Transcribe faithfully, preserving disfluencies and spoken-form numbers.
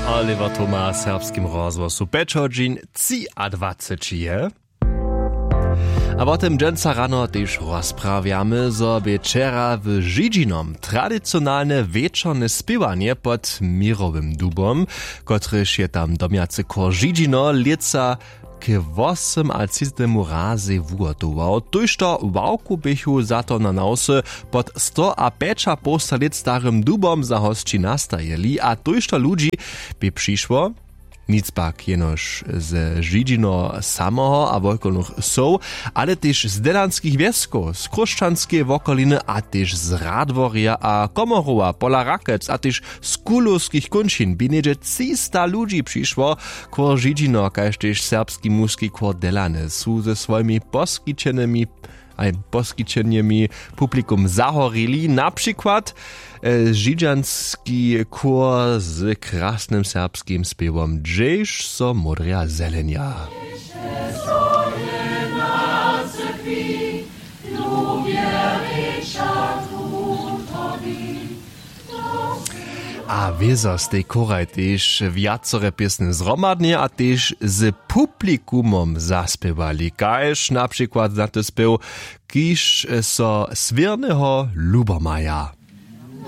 Oliver Thoma w serbskim rozhłosu pjeć hodźin třiadwaceći je. A wo tym dźensa rano tež rozprawjamy, zo bě wčera w Židźinom tradicionalne wječorne spěwanje pod měrowym dubom, kotryž je tam domjacy chór Židźino lětsa k wosomatřicetemu razej wuhotował. Tójšto ławkow běchu za to na nawsy pod stoapjećapołsta lět starym dubom za hosći nastajili a tójšto ludźi bě přišło. Nic pak jenož ze Židźino samoho a wokolnych wsow, ale tež z delanskich wjeskow, z chróšćanskeje wokoliny a tež z Radworja a Komorowa pola Rakec a tež z kulowskich kónčin bě něhdźe třista ludźi přišło. Chór Židźino kaž tež serbski muski chór Delany su ze swojimi poskićenymi a poskićenjemi publikum zahorili, na přikład židźanski chór z krasnym serbskim spěwom hdźež so módrja zelenja. A wězo stej chóraj tež wjacore pěsny zhromadnje a tež z publikumom zaspěwali kaž na přikład za ty spěw, kiž so swěrneho lubomaja.